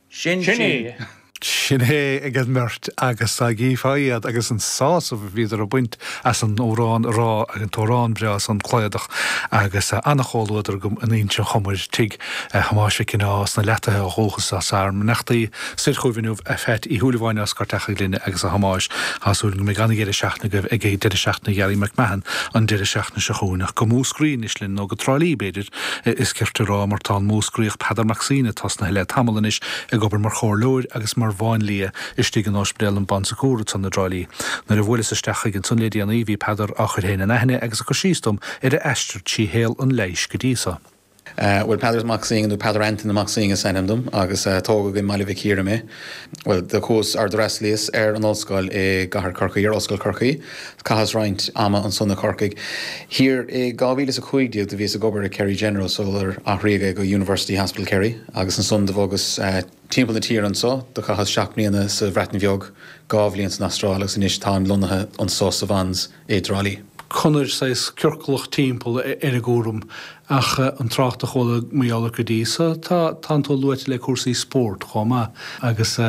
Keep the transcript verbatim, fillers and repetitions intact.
Sin sin é. Sin é ag an mbeirt agus dá gcífeá iad agus an sásamh a bhíodar ag baint as an amhrán a rá, an t-amhrán breá san Cladach agus an-chomhluadar agam in Inse Chomair, tigh Thomáis Mhic Cionnaith sna Leataithe ó dhúchas as ár mbeannachtaí soir chugaibh inniu a Pheait Uí Shúilleabháin as Gort Achaidh Ghlinne agus a Thomáis. Tá súil go mbeidh an-dheireadh seachtaine agaibh ag deireadh seachtaine Ghearaí McMahon an deireadh seachtaine seo chugainn. Ach go Múscraí anois linn, nó go Trá Lí b'fhéidir is cirte a rá mar tá an Múscraíoch Peadar Mac Suibhne tosnaithe le tamall anois ag obair mar chomhairleoir agus mar mháinlia istigh in Ospidéal an Bon Secours ansan i dTrá Lí. Nuair a bhuaileas isteach chuige ansan le déanaí bhí Peadar á chur féin in aithne agus ag cur síos dom ar a aistear trí shaol an leighis go dtí so. Bhuel, Peadar Mac Suibhne nó Peadar Antaine Mac Suibhne is ainm dom agus tógadh i mBaile Mhic Íre mé. Bhuel, do chuas ar d'fhreastalaíos ar an ollscoil i gcathair Chorcaí, ar Ollscoil Chorcaí. Chaitheas roinnt ama ansan i Corcaigh. Thiar i dhá mhíle is a cúig déag do bhíos ag obair i Kerry General sular athraíodh é go University Hospital Kerry agus ansan do bhogas timpeall na tíre anso. Do chaitheas seacht mbliana sa Bhreatain Bheag, dhá bhliain san Astráil agus anois táim lonnaithe anso sa Bhans i dTrá Lí. Conair saghas ciorclach timpeall ar an gcúram ach an trácht a chuala mar gheall ort go dtí so, tá, tánn tú luaite le cúrsaí spóirt chomh maith agus